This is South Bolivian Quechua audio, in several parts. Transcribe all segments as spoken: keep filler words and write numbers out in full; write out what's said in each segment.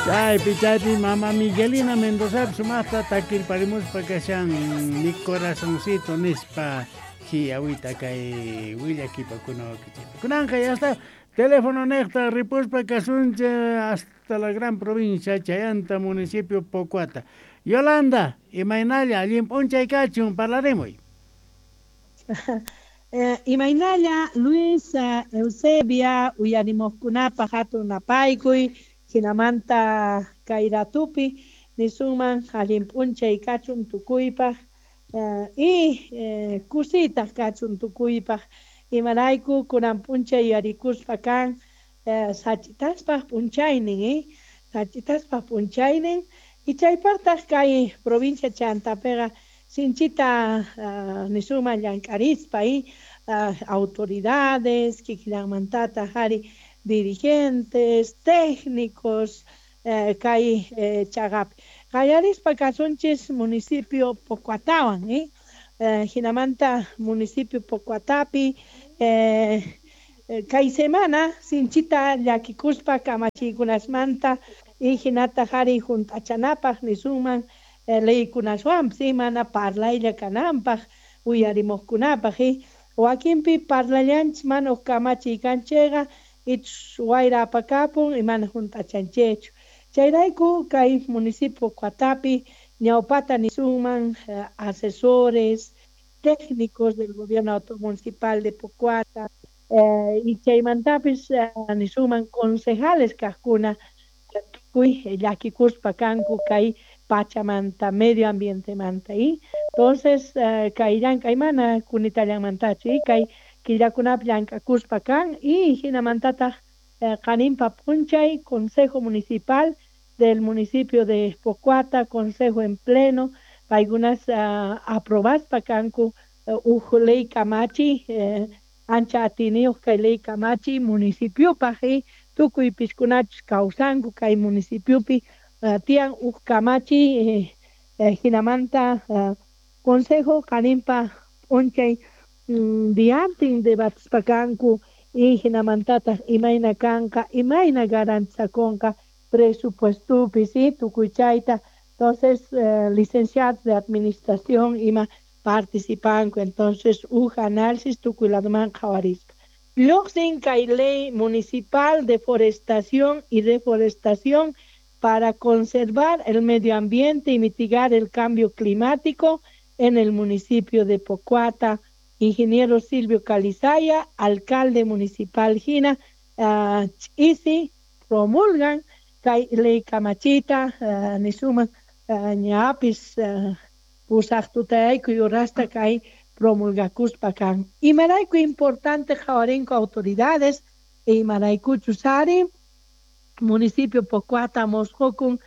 Chaypi chaypi mama Miguelina Mendoza sumaqta takirparimuspa kashan mi corazoncito nispa hiawita kay willakipakuna wakichikpi. Kunanqa ya está teléfono neqta ripuspa kasunchik hasta la gran provincia Chayanta, municipio Pocoata. Yolanda, imaynalla allin p'unchay kachun parlarimuy. Eh, imaynalla Luis uh, Eusebia uyarimuqkunapaq hatun napaykuy hinamanta kay ratupi nisunman allin p'unchay kachun tukuypaq uh, y eh, kusitaq kachun tukuypaq imarayku kunan p'unchay yuyarikuspa kan eh, sach'itaspaq p'unchaynin eh? Sach'itaspaq p'unchaynin y chaypaqtaq kay provincia Chantapiqa sinchita uh, nisunman llank'arispa y uh, autoridades kikillanmantataq ari dirigentes, técnicos eh, kay eh, chaqapi qallarispa kasunchis municipio Pocoatawan eh? Eh, hinamanta municipio Pocoatapi eh, kay semana sinchita llakikuspa kamachiykunasmanta y hinataq ari hunt'achanapaq nisunman eh, leykunaswanpis eh, mana parlaylla kananpaq uyarimuqkunapaq eh? Wakinpi parlallanchis mana huk kamachiy kanchayqa ichus wayra apakapun y mana hunt'achanchikchu chayrayku kay municipio Pocoatapi ñawpata nisunman eh, asesores técnicos del gobierno municipal de Pocoata eh, y chaymantapis eh, nisunman concejales kaqkuna tukuy llakikuspa kanku kay pachamanta medio ambientemanta y entonces eh, kay llank'ay mana kunitallanmantachu y kay killakunapi llank'akuspa kan y hinamantataq eh, qaninpa p'unchay Consejo Municipal del municipio de Pocoata, Consejo en pleno, paykunas uh, aprobaspa kanku uh, uj ley kamachi eh, ancha atiniyuq kay ley kamachi municipiopaq y tukuy piskunachus kawsanku kay municipiopi uh, tiyan uj kamachi eh, eh, hinamanta uh, Consejo qaninpa p'unchay mm, diantin debatispa kanku y hinamantataq imayna kanqa imayna garantizakunqa presupuestopi sí tukuy chayta. Entonces eh, licenciados de administración ima participanku entonces uj análisis tukuy ladoman qhawarispa lluqsin kay ley municipal de forestación y reforestación para conservar el medio ambiente y mitigar el cambio climático en el municipio de Pocoata. Ingeniero Silvio Calizaya, alcalde municipal hina, uh, ch'isi promulgan kay ley kamachita uh, nisuman uh, ñapis uh, pusaq tutayayku yurasta kay promulgakuspa kan. Imarayku importante qhawarinku autoridades e imaraykuchus ari municipio Pocoata mosqokun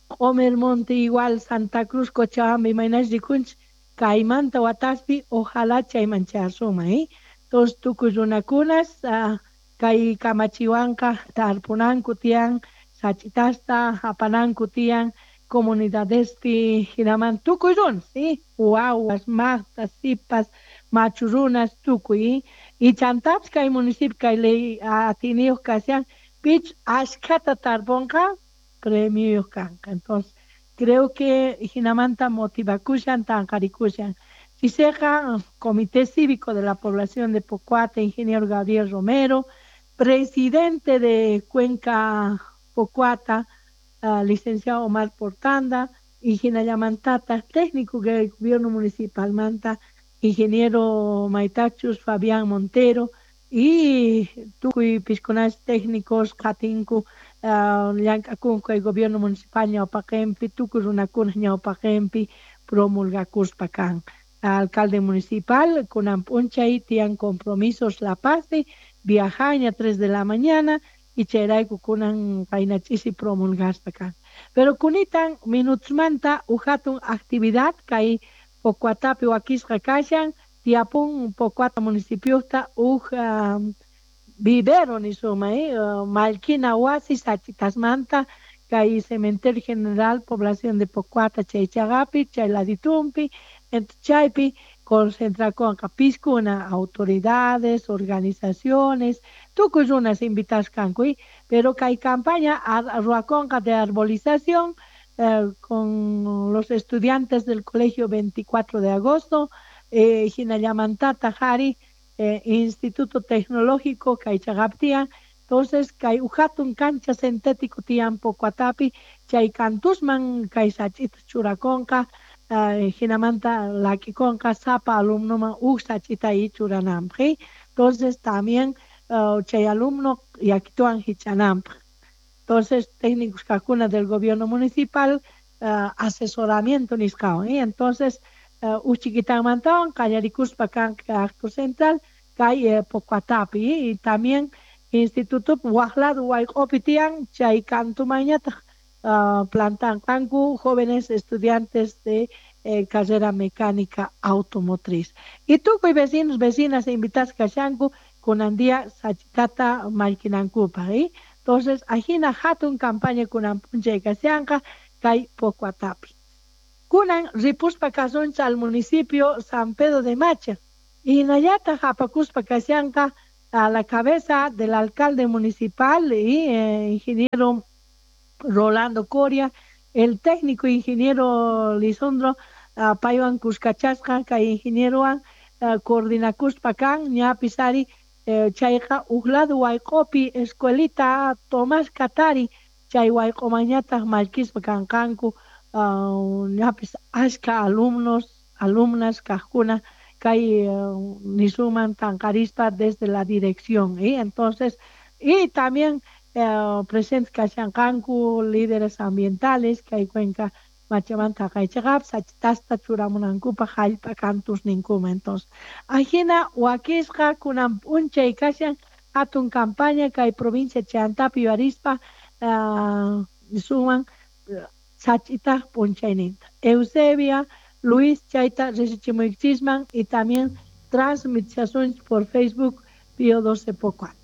Q'omer Monte igual Santa Cruz Cochabamba imaynash rikunchik kaymanta wataspi ojalá chayman chayasuma eh? Entonces tukuy runakunas uh, kay kamachiwanqa tarpunanku tiyan sach'itasta apananku tiyan comunidadespi hinaman tukuy runas ¿sí? Wawas, maqtas, sipas, machu runas tukuy y chantapis kay municipio kay ley atiniyuq kashan pich ashkhata tarpunqa premioyuq kanqa. Entonces creo que hinamanta motivakushan tanqarikushan. Chiseqa Comité Cívico de la Población de Pocoata, ingeniero Gabriel Romero, presidente de Cuenca Pocoata, uh, licenciado Omar Portanda, hinallamantata, técnico del gobierno municipal manta, ingeniero Maitachus Fabián Montero, y tukuy piskunas técnicos qhatinku uh, llank'akunku el gobierno municipal ñawpaqinpi tukuy runakuna ñawpaqinpi promulgakuspa kan. Alcalde municipal kunan p'unchay tiyan compromisos La Paz viajaña tres de la mañana y chayrayku kunan qayna ch'isi promulgaspa kan. Pero kunitan minutusmanta uj hatun actividad kay Pocoatapi wakisqa kashan tiyapun Pocoata municipiota uj um, vivero nisuma eh? Uh, mallkina wasi sach'itasmanta kay cementerio general población de Pocoata chay chaqapi chay laditumpi chaypi Concentrakonqa piskuna autoridades, organizaciones, tukuy runas invitasqanku, pero kay campaña ruwakonqa de arbolización eh, con los estudiantes del colegio veinticuatro de agosto, eh, hinallamantata jari, eh, Instituto Tecnológico kay chaqaptian. Entonces kay ujatun cancha sintético tian Pocuatapi, chay kantusman kay sach'ita churakonqa, uh, hinamanta lakikonqa sapa alumnoman uj sach'ita churananpaq. Entonces también uh, chay alumno yakituan hich'ananpaq. Entonces técnicos kajkuna del gobierno municipal uh, asesoramiento nisqawan, ¿eh? Entonces uh, uj chiquitanmantawan qallarikuspa kanqa acto central kay eh, Pocuatapi, ¿eh? Y también Instituto waj lado wayq'opi tiyan chay kantumanñataq uh, plantanqanku jóvenes estudiantes de eh, carrera mecánica automotriz. Y tukuy vecinos, vecinas invitasqa kashanku kunan día sach'itata mallkinankupaq, ¿eh? Entonces ajina hatun campaña kunan p'unchay kashanqa kay Pocuatapi. Kunan ripuspa kasunchik al municipio San Pedro de Macha. Hinallataq apakuspa kashanqa a la cabeza del alcalde municipal y eh, ingeniero Rolando Coria, el técnico ingeniero Lisandro uh, paywan kuskachasqa kay ingenierowan uh, coordinakuspa kan ñapis ari eh, chayqa uj lado wayq'opi escuelita Tomás Katari chay wayq'omanñataq mallkispa kanqanku uh, ñapis ashka alumnos, alumnas kajkuna kay uh, nisuman tanqarispa desde la dirección, ¿eh? Entonces, y también eh, presentes kashanqanku líderes ambientales kay cuenca machamanta kaychaqap sach'itasta churamunankupaq jallp'a kantusninkuma. Entonces, ajina wakisqa kunan p'unchay kashan hatun campaña kay provincia Chantapi yuyarispa uh, nisuman sach'itaq p'unchayninta. Eusebia, Luis chayta risichimuykichisman y también transmitichasunchik por Facebook Pío doce Pocuata.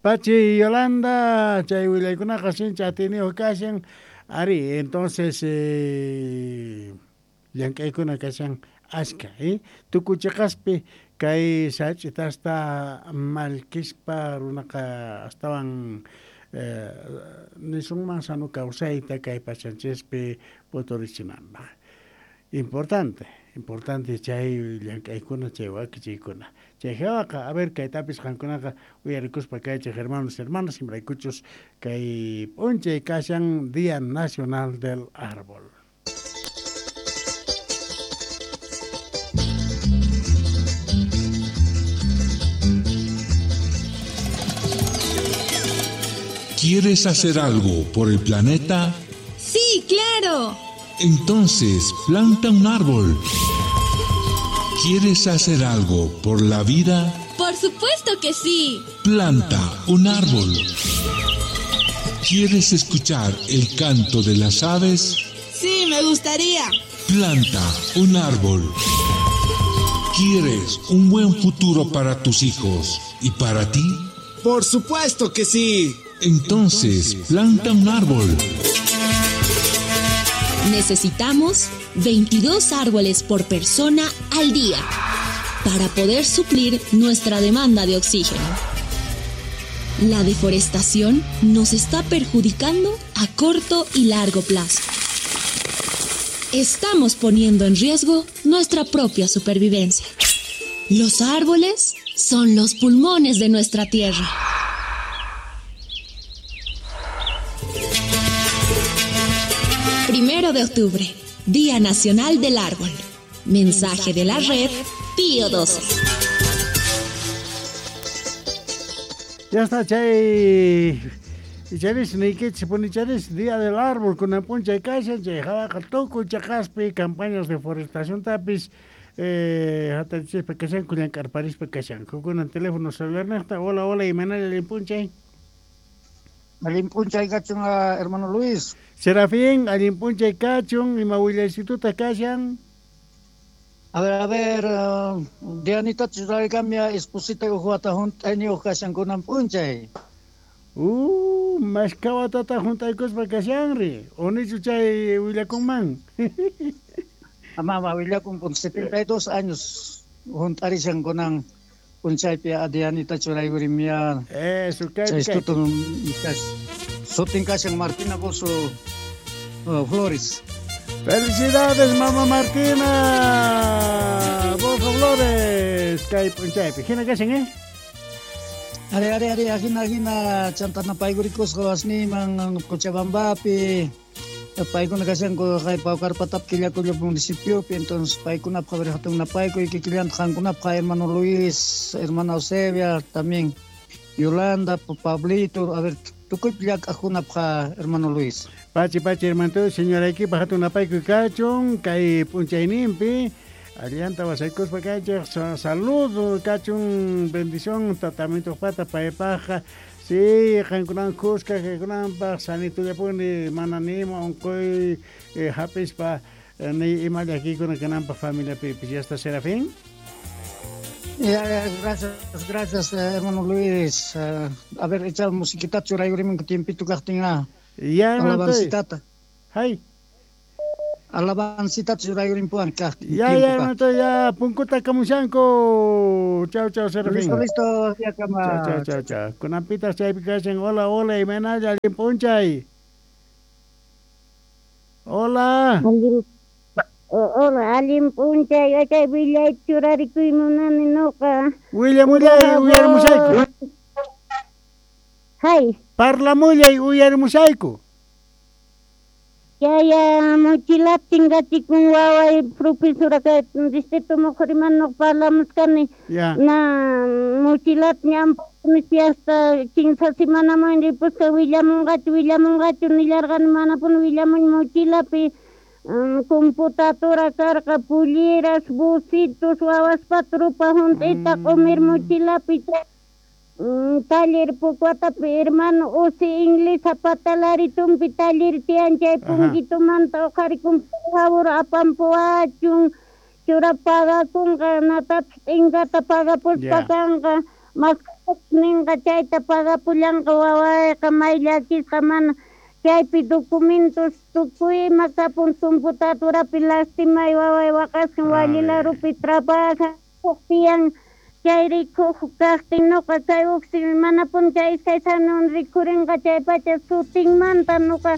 Pachi Yolanda, chay willaykunaqa sinchi atiniyuq kashan. Ari, entonces eh, llank'aykuna kashan ashka, eh? Tukuchiqaspi kay sach'itasta mallkispa runaqa astawan eh, nisunman sano kawsayta kay pachanchispi puturichinanpaq. Importante, importante chay llank'aykuna, chay wakichiykuna. Chay hawaqa, a ver, kaytapis qankunaqa uyarikuspa kaychik hermanos, hermanas, imraykuchus kay p'unchay kashan Día Nacional del Árbol. ¿Quieres hacer algo por el planeta? ¡Sí, claro! Entonces, planta un árbol. ¿Quieres hacer algo por la vida? ¡Por supuesto que sí! Planta un árbol. ¿Quieres escuchar el canto de las aves? Sí, me gustaría. Planta un árbol. ¿Quieres un buen futuro para tus hijos y para ti? ¡Por supuesto que sí! Entonces, planta un árbol. Necesitamos veintidós árboles por persona al día para poder suplir nuestra demanda de oxígeno. La deforestación nos está perjudicando a corto y largo plazo. Estamos poniendo en riesgo nuestra propia supervivencia. Los árboles son los pulmones de nuestra tierra. Primero de octubre, Día Nacional del Árbol. Mensaje de la red Pío doce. Ya está, chay. Charis, niykichis punicharis, Día del Árbol, kunan p'unchay kashan, chay hawaqa tukuy chaqaspi, campañas de forestación tapis, eh, hatarichispa kashanku, llank'arparispa kashanku. Kunan teléfono celular niqta, hola, hola, imanalla allin p'unchay. Allin p'unchay kachun, hermano Luis. Serafín, allin p'unchay kachun, ima willaysituta kashan. A ver, a ver, uh, Dianita churaykamia esposita uhuata junt'ayniyuq kashan kunan p'unchay. Uh, mashkawatata junt'aykuspa kashanri, unichu chay willakunman. Mama willakun pun setenta y dos años juntarishan kunan punchaypi Dianita churaykurimia. Eso, kay kay. Sutin kashan Martina Bozo uh, Flores. Felicidades, mamá Martina Bozo Flores. Kay punchaypi. Hina kashan, eh? Are are are hina hina chantana paykurikusqa wasniman Cochabambapi. Paykuna kashanku kay Paucarpatap Quillacollo municipiopi, entonces paykunapaq hatun napaykuy kikillanta qankunapaq hermano Luis, hermana Eusebia, también Yolanda, Pablito, a ver tukuypi llank'aqkunapaq hermano Luis. Pachi pachi hermano, señora equipa hatun napaykuy kachun kay p'unchayninpi allanta wasaykuspa kaychej saludo kachun bendición tratamiento pata paypajqa. Sí, qankunan kuska kaykunanpaq sanitullapuni mana nima unquy eh, hapispa eh, ni ima llakikuna kananpaq familiapipis. ¿Ya está Serafín? Ya, ya, gracias, gracias, hermano Luis. Uh, a ver, echa musiquita churayurimun tiempito kaqtin. Ya, hermano. Alabancitata. Hay. Alabancita churayurimpuan kaqtin. Ya, ya, hermano, ya, punkuta kamushanku. Chau, chau, Serafín. Listo, listo, ya kama. Chau, chau, chau, chau. Kunanpitas chaypi kashan. Hola, hola, imaynalla, allin p'unchay. Hola. Hola, allin p'unchay, chay willay churarikuy munani noqa. Willamullay, uyarimushayku. Hay. Parlamullay, uyarimushayku. Ya, ya, mochila tingachikun waway profesora kay distrito Moqoriman noq parlamushkani. Ya. Na mochilat ñampuni hasta kinsa semanaman ripusqa willamunqachu willamunqachu nillarqani manapuni willamun mochilapi. Um, computadora karqa pulleras, busitos, wawaspa trupa junt'ita q'umir mochilapi um, taller Pucuatapi hermano usi inglesa patalaritumpi taller tiyan chay punkitumanta uqharikun por favor apampuwachun chura pagakunqa natapis t'inkata pagapuspa kanqa maskatapis ninqa chayta pagapullanqa wawayqa may llakisqa mana chaypi documentos tukuy ima kapun computadorapi lastimay waway waqasqan walilarupi trabaja huk tiyan chay rikuq kaqtin nuqa kay uqsi manapuni chay iskay sanon rikhurinqa chay pacha sutinmanta nuqa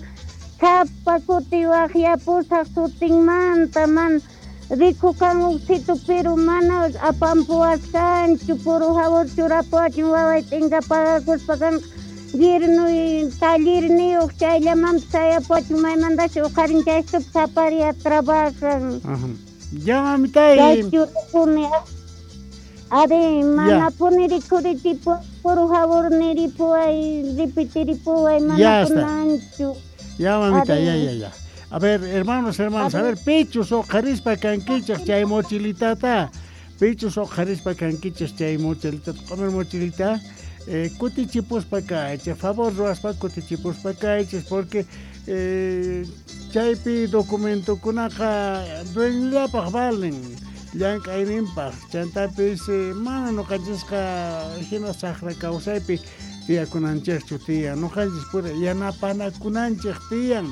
sapa kuti waqyapusaq sutinmanta mana rikukan uqsitu pero mana apampuwasqanchu por favor churapuwachun waway t'inka pagakuspa kanqa Yernuy tallerniyuq chayllamanpis sayapuwachun maymantashi uqharin chaystupi saparia trabajan. Ajá. Ya mamitay. Chaychurapuni ari manapuni rikhurichipu por favor niripuway repetiripuway manapunanchu. Ya mamita, ya ya ya. A ver, hermanos, hermanos, a ver, pichus uqharispa kankichej chay mochilitata. Pichus uqharispa kankichej chay mochilitata, q'umir mochilita. Eh, kutichipuspa kaychej, favor ruwaspa kutichipuspa kaychej, porque eh, chaypi documentokunaqa dueñollapaq valen, llank'ayninpaq, chantapis eh, mana nuqanchisqa hina saqra kawsaypi tiyakunanchikchu tiyan, nuqanchis pura yanapanakunanchik tiyan,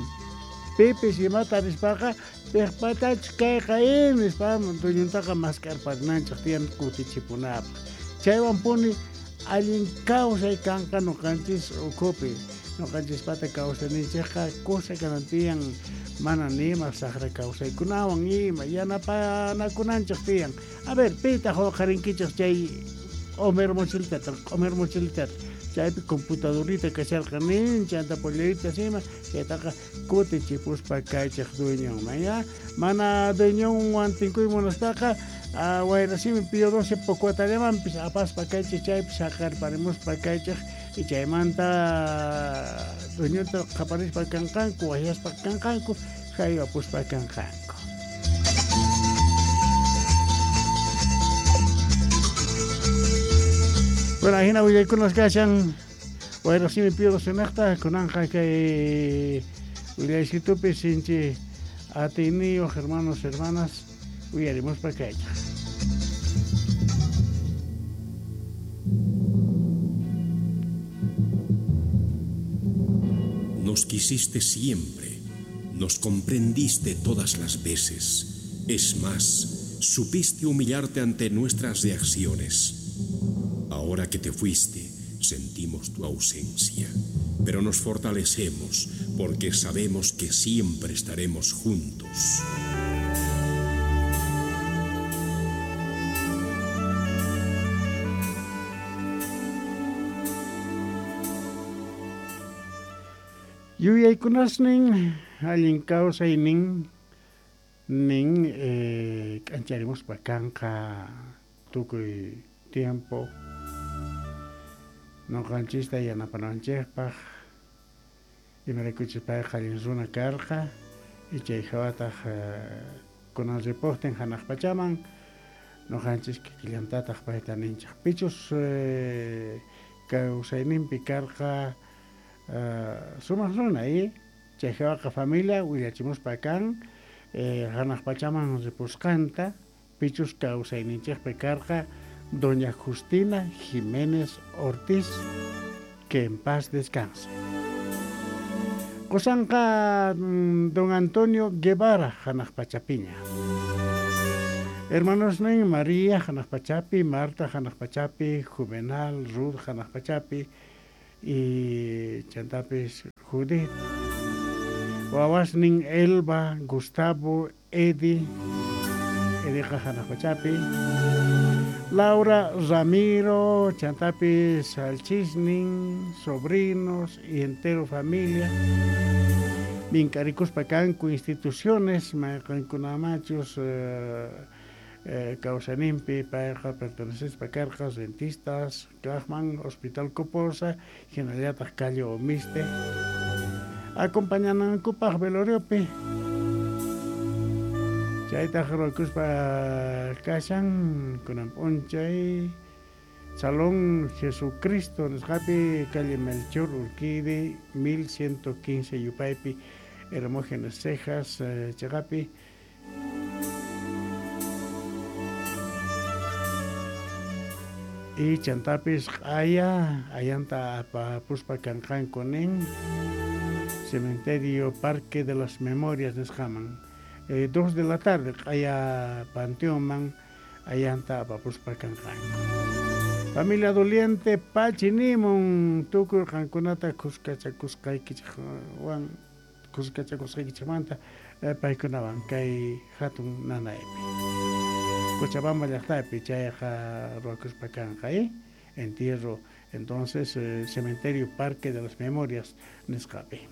pipis imata rispaqa piqpatachu kayqa in nispa dueñontaqa mask'arparinanchik tiyan kutichipunapaq, chaywanpuni allin kawsay kanqa nuqanchis ukhupi, nuqanchispata kawsayninchikqa kusa kanan tiyan mana nima saqra kawsaykunawan ima yanapanakunanchik tiyan. A ver, pitaq uqharinkichik chay q'umir mochilitata, q'umir mochilitata, chaypi computadorita kasharqa nin, chanta polleritas ima, chaytaqa kutichipuspa kaychik dueñonman, ya, mana dueñonwan tinkuy munaspaqa wayrasimi Pío doce Pocuatallamanpis apaspa kaychik chaypi saqarparimuspa kaychik y chaymanta dueñota qaparispa kanqanku waqyaspa kanqanku haywapuspa kanqanku. Bueno, ahina willaykunas kashan wayrasimi Pío doce naqta kunanqa kay willaysitupi sinchi atiyniyuq hermanos, hermanas uyarimuspa kaychik. Nos quisiste siempre, nos comprendiste todas las veces, Es más, supiste humillarte ante nuestras reacciones. Ahora que te fuiste, sentimos tu ausencia, pero nos fortalecemos porque sabemos que siempre estaremos juntos. Yuyaykunasnin allin kawsaynin nin eh, k'ancharimuspa kanqa tukuy tiempo noqanchista yanapananchikpaq imaraykuchus payqa allin runa karqa chay hawataq kunan ripuqtin hanaq pachaman noqanchis kikillantataq payta ninchik pichus eh, kawsayninpi karqa Uh, sumaq runa y chay hawaqa familia willachimuspa kan eh, hanaq pachaman ripusqanta pichus kawsayninchikpi karqa doña Justina Jiménez Ortiz, que en paz descanse. Qosanqa don Antonio Guevara hanaq pachapiña. Hermanos nin María hanaq pachapi, Marta hanaq pachapi, Juvenal, Ruth hanaq pachapi y chantapis Judith. Wawasnin Elba, Gustavo, Eddie, Eddie hanaq pachapi, Laura, Ramiro, chantapis Alchisnin, sobrinos y entero familia. Minkarikuspa kanku instituciones, mayqankunamachus eh, eh, kawsanimpi payqa pertenecespa karqa rentistas, kaqman, Hospital Coposa, hinallataq calle Omiste. Acompañanankupaq veloriopi. Chaytaq ruwakuspa kashan kunan p'unchay Salón Jesucristo nisqapi calle Melchor Urquidi mil ciento quince Yupaypi Hermógenes Cejas eh, chaqapi. Y chantapis q'aya ayanta apapuspa kanqanku nin Cementerio Parque de las Memorias nisqaman. Eh, dos de la tarde q'aya panteonman ayanta apapuspa kanqanku. Familia doliente pachi nimun tukuy qankunata khuskachakusqaykichikwan khuskachakusqaykichikmanta eh, paykunawan kay hatun nanaypi. Cochabamba llaqtapi chayqa ruwakuspa kanqa eh? Entierro entonces eh, Cementerio Parque de las Memorias nisqapi.